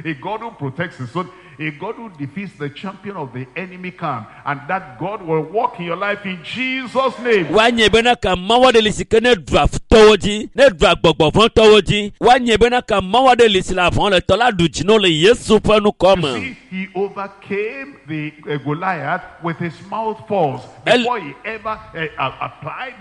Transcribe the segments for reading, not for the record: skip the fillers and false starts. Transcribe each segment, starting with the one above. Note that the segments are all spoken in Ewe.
a God who protects his own, a God who defeats the champion of the enemy camp. And that God will work in your life in Jesus' name. Woanye bena ka Mawu aɖe li si ke ne ɖua futɔwo dzi, ne ɖua gbɔgbɔvɔ̃tɔwo dzi. Woanye bena ka Mawu aɖe li si le avɔ le tɔ la ɖu dzi na wo le Yesu ƒe ŋkɔ You me. see, he overcame the Goliath with his mouth force before he ever applied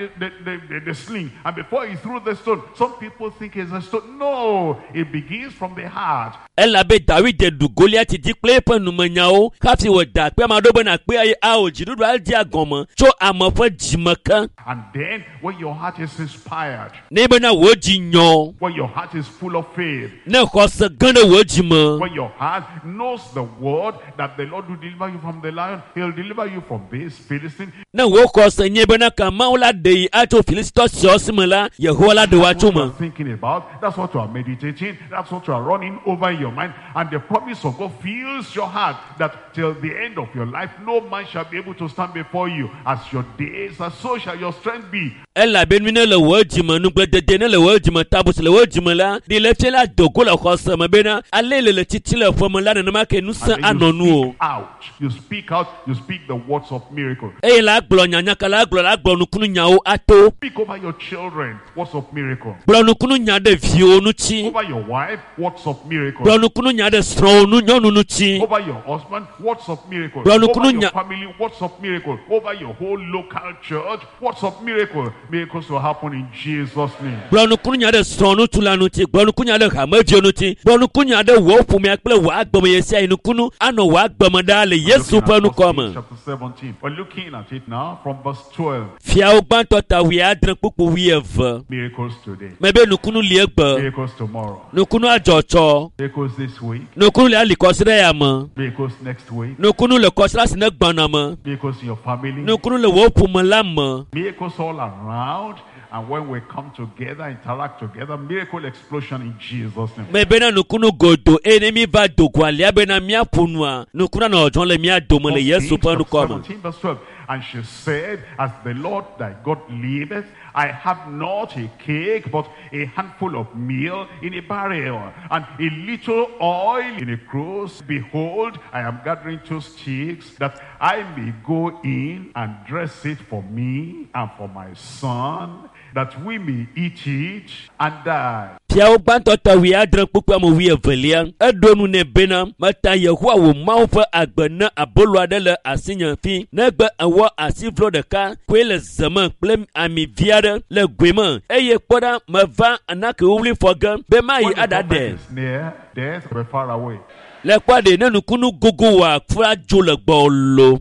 the sling and before he threw the stone. Some people think it's a stone. No, it begins from the heart. Elabe Dawid ɖu Goliati dzi kple eƒe numenyawo hafi wòda akpe ame aɖewo bena akpe eye ao dziɖuɖua dzea gɔme tso ame ƒe dzime ke. And then when your heart is inspired, Ne bena wò dzi nyɔ, when your heart is full of faith, ne xɔse ge ɖe wò dzime, when your heart knows the word that the Lord will deliver you from the lion, he'll deliver you from this Philistine. Ne wò xɔse nye bena ka Mawu la ɖe yi atso Filistitɔ siawo si me la, Yehowa la ɖe wò That's atso what you me. are thinking about. That's what you are meditating. That's what you are running over in your mind. And the promise of God fills your heart that till the end of your life, no man shall be able to stand before you. As your days are, so shall your strength be. Elabe nu ne le wò dzime, nugbledede ne le wò dzime, tabusi le wò dzime la, ɖi le fia la dogo le xɔse me bena ale le le tsitsi le ƒeme la nenema ke ŋusẽ And then anɔ you nu o. speak out. You speak out. You speak the words of miracle. Eye la gblɔ nyanyaka la gblɔ la gblɔ nukunu nyawo ato. Speak over your children words of miracle. Gblɔ nukunu nya ɖe viwo ŋuti. Over your wife, words of miracle. Gblɔ nukunu nya ɖe srɔ̃wo nu nyɔnu ŋuti. Over your husband, words of miracle. Gblɔ nukunu Over your nya- family, words of miracle. Over your whole local church, words of miracle. Miracles will happen in Jesus' name. Gblɔ nukunu nya ɖe srɔ̃ ŋutsu la ŋuti. Gblɔ nukunu nya ɖe hameviwo ŋuti. Gblɔ nukunu nya ɖe wò ƒomea kple wò agbeme ɣe sia ɣi nukunu anɔ wò agbeme ɖaa le Yesu Looking ƒe at ŋkɔ First me. Kings chapter 17. We're looking at it now from verse 12. Fiawo gbãtɔ ta 70 kpukpu 20. Miracles today. Mebe nukunu li egbe. Miracles tomorrow. Nukunu adzɔtsɔ. Miracles this week. Nukunu le ali kɔsiɖe ya me. Miracles next week. Nukunu le kɔsiɖa si ne gbɔna me. Miracles in your family. Nukunu le wò ƒome la me. Miracles all around. And when we come together, interact together, miracle explosion in Jesus' name. Mebena nukunu godo eye ne mi va dogo alia bena míaƒo nua nukunu anɔ dzɔdzɔm le mía dome le First Yesu Kings ƒe chapter ŋkɔ me. 17 verse 12. And she said, As the Lord thy God liveth, I have not a cake, but a handful of meal in a barrel, and a little oil in a cruse. Behold, I am gathering two sticks, that I may go in and dress it for me and for my son, that we may eat it and die. Fiawo gbãtɔ ta 70 kpukpui ame 22 eɖo nu nɛ bena meta Yehowa wò Mawu ƒe agbe ne abolo aɖe le asinye fi negbe ewɔ asivlo ɖeka koe le ze me kple ami vi aɖe le goe me eye kpɔ ɖa meva anake wuwlui fɔ ge be mayi When the aɖaɖe. prophet is near, death will be far away. Le kpɔ ɖe ne nukunu gogo wòa fura dzo le gbɔwò lo.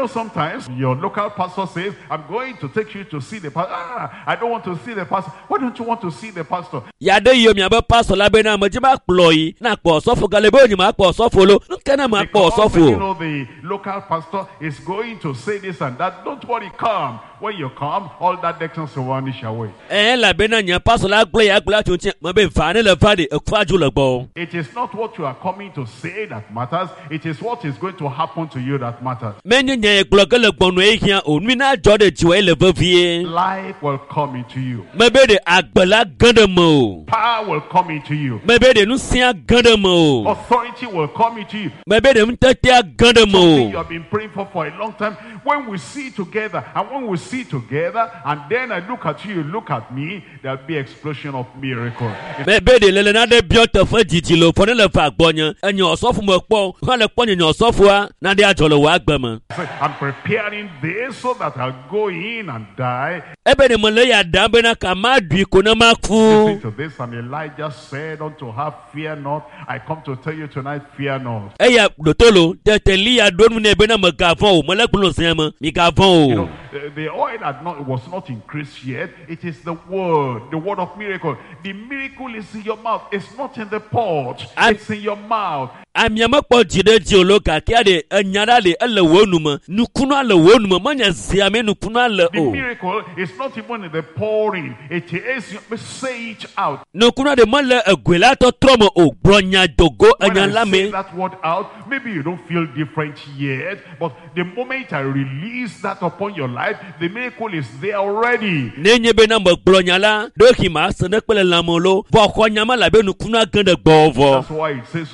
Sometimes your local pastor says, I'm going to take you to see the pastor. Ah, I don't want to see the pastor. Why don't you want to see the pastor? Ya ɖe yio miabe pastor la bena medzi ma kplɔ yi na kpɔ ɔsɔfo gale be wonyi ma kpɔ ɔsɔfo lo. Nu ke ne ma kpɔ Because, ɔsɔfo? the local pastor is going to say this and that. Don't worry, come. When you come, all that darkness will vanish away. Ɛɛ elabena nye pastor la gblɔ ya gblɔ atso ŋuti me be va ne le va ɖe ekua dzo le gbɔ. It is not what you are coming to say that matters. It is what is going to happen to you that matters. Menye nye gblɔ ge le gbɔnɔ ye hiã o. Nui na dzɔ ɖe dziwɔ ye le vevie. Life will come into you. Mebe ɖe agbe la ge ɖe me o. Power will come into you. Mebe ɖe ŋusẽa ge ɖe me o. Authority will come into you. Mebe ɖe ŋutetea ge ɖe me Something you o. have been praying for a long time. When we see together, and when we see together, and then I look at you, you look at me, there'll be explosion of miracle. Mebe ɖe lele na ɖe biɔ teƒe didi le fɔ ne le va gbɔnye. Enye ɔsɔfo me kpɔ, hã le kpɔ nye nye ɔsɔfoa, naɖe adzɔ le wò agbe me. Say, I'm preparing this so that I'll go in and die. Ebe ɖe mele ya ɖam bena ka ma ɖui ko ne ma ku. Listen to this, and Elijah said unto her, Fear not. I come to tell you tonight, fear not. Eya ɖotolo tete Eliya ɖo nu nɛ bena megavɔ̃ o, mele gblɔ zia me, migavɔ̃ o. The oil had not, was not increased yet. It is the word of miracle. The miracle is in your mouth. It's not in the pot. It's in your mouth. Amia mekpɔ dzi ɖe dzi o lo gake ɖe enya ɖa le ele wò nu me. Nukunua le wò nu me, menye zia me nukunua le The o. miracle is not even in the pouring. It is, say it out. Nukunua ɖe mele egoe la tɔtrɔ me o. Gblɔ nya dogo When enya I la say me. that word out, maybe you don't feel different yet, but the moment I release that upon your life, the miracle is there already. Ne nye bena megblɔ nya la, ɖewohĩ ma se ne kpe le lãme lo, vɔ xɔ nya ma labe nukunua ge ɖe gbɔwò vɔ. That's why it says so.